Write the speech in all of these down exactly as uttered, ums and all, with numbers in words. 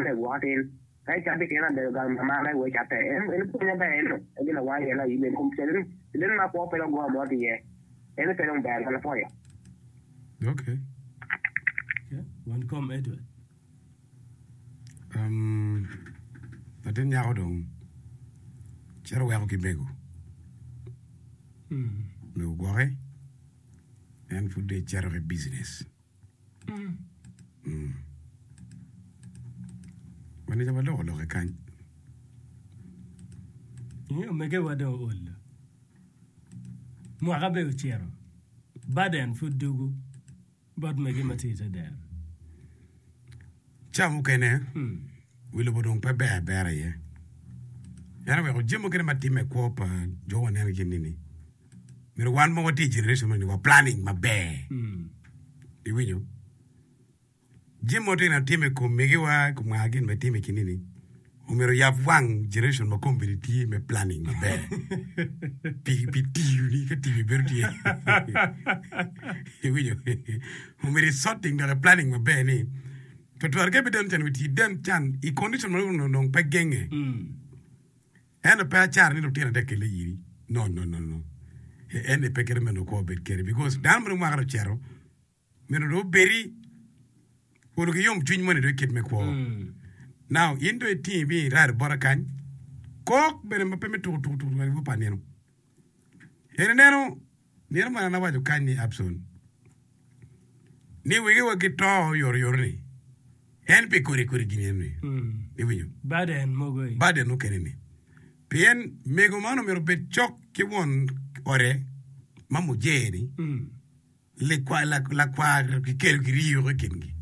me gwoka tin ka icato keken abedo gang ma me we cate en en pwony maber en no gin awaco iye la iben kom caden caden ma kwo pe dong goyo mo tye iye en pe dong ber an apwoyo Okay. Okay. Wan kom Edward. Um, latin nyako dong cito weko ki mego. Mm. Mego gwoke. En pud dong ecito ki business. Mm. Mm. Manica waloko loke kany. Inge omegewa dong olo. Mwaka be ocito. Baden pud dugu bot mege ma tye i te dero. Ca mukene Mm. wi lobo dong pe ber abera iye. En oweko jami mukene ma timme i kwo pa jo waneno gin nini. Myero wan ma watye i generation moni wa planning maber. Mm. Iwinyo? Jami mo tye na timme i kom megiwa i kom nga gin ma timme i kinini. Omyero yab wang generation ma kombeddi tye me planning maber. pi pi tiyo ni ka tiyo bedo tye. Iwinyo? Omyero i sorting dok i planning maber ni twatwal ka ibiden can wi ti den can i condition ma onongo dong pe genge. Mm. Ento pe acara ni lutino te kele iri. No, no, no, no. En ni pe kite meno kwo obed kede because dano ma dong mwaka dong ocito myero dong obedi olo ki yom cwiny moni dong i kit me kwo. Mm. Now in dong itingi bi irado bota kany kok bene ma pe me tuku tuku tuku tuku pa nino. En ineno nino man an awaco kany ni Abson ni wegewa gito oyotoyot ni en pi kodi kodi gini eni Mm. iwinyo Baden mogo i. baden mukene ni pien mego man omyero obed cok ki won ode ma mujee ni Mm. likwa lakwar kikelo kiriyo i kingi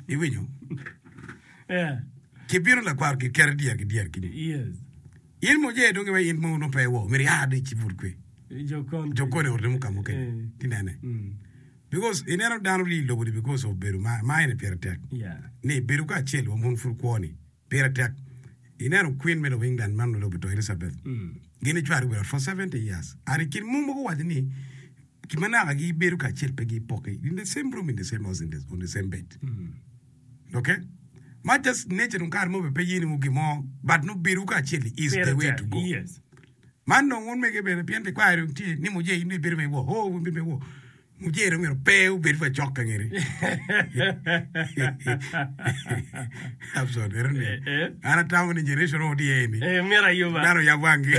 iwinyo Yeah. kibino lakwar kiketo dyer ki dyer kini Yes. in mujee dong iwe in mo no pe wo myero ia di cibut kwe Jo kon. jo kone orte mo ka mukene Eh. tinene Mm. because ineno dano ri lobo ni because of bedo ma ma ene pire tek Yeah. ni bedo kacel wa mun pud kwo ni pire tek ineno queen me lobo England man lobo to Elizabeth Mm. gin icwaro wera for seventy years and i kin mo mogo waco ni kimanaka gibedo kacel pe gipoke in the same room in the same house in the, on the same bed Mm. okay ma just nature dong kare mo be pe yeni wo gimo but no bedo kacel is Pire the way tek. to go Yes. man dong wun mege bene pien likwayo dong tye ni muje in ibedo me wo oh wun bedo me wo muje dong myero pe obed wa cok ka ngeri Abson ero ni Eh, eh. an atamo ni generation mo tye ni Eh, myero ayuba. dano yab wangi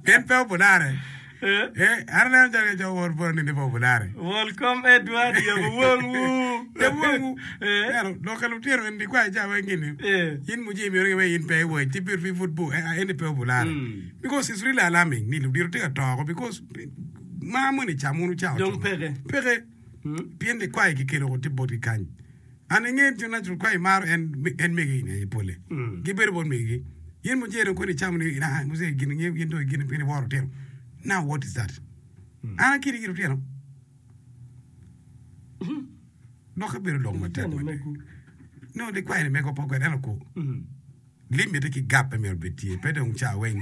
pien pe obulare Eh. eh an aneno calo jo wor boro ni ni pe obulare Welcome Edward, yabo wangwu. Yabo wangwu. Eh. Neno, lok ka lutino en likwayo ca weng gini Eh. in muje myero giwe in pe iwec ti bir pud bu eh, en pe obulare Mm. because it's really alarming ni ludito tye ka toko because ma moni ca munu ca Dong otimo. peke. peke Mm. pien likwayo kikelo ko tye botgi kany an inge ti natural kwayo maro en en megi ni aye pole Mm. gibedo bot megigi in muje dong koni icamo ni ah muje gin nge gin dong gin pien iworo otino now what is that an akiri gi lutino lok abedo lok matek Lutino mada megu. no likwayo ni mego poko eno ku Mm. limit ki gap pe myero obed tye pe dong ca weng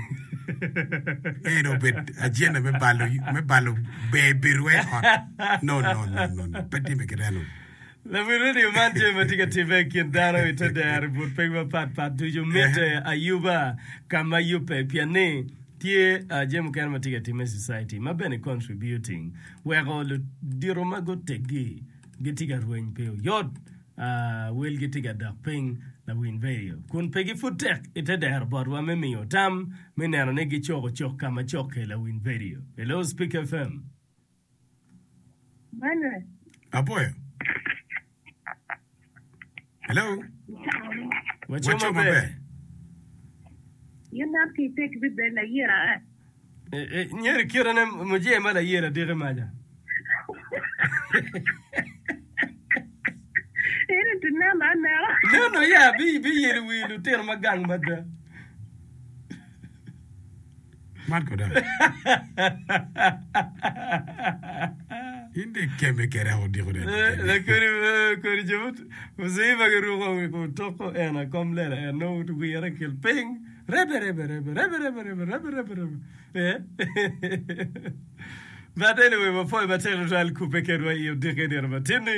en obed agenda me balo me balo ber bedo e ot no no no no no pe timme kit eno Lawil radio man tye ma tye ka timme i kin dano i te dero i but piny mapatpat ducu mitte ayuba ka ma yubbe pien ni tye uh, jami mukene ma tye ka timme i society ma bene contributing weko ludito ma guteggi gitye ka rweny pi oyot uh, welgi tye ka dok piny lawiny radio kun pe gipud tek i te dero botwa me miyo tam me neno ni gicoko cok ka ma cokke lawiny radio. Hello Speak F M. Manuel. Apoyo hello. Waco waco maber. Maber. In nam ki tek bibe la yira. Eh, eh, nyeri kirane muje ma layera diki maja. Eni tu nam anera. No, no, ya, bi bi yelo wi lutino ma gang mada. Man koda in de keme kere odiko de Eh, la kodi eh, kodi jo muziba giruko ko toko en akom lela en no wire kil piny rebe rebe rebe rebe rebe rebe rebe rebe rebe eh But anyway, mapoy matek tutwal kupe kedwa i odiki nino matini.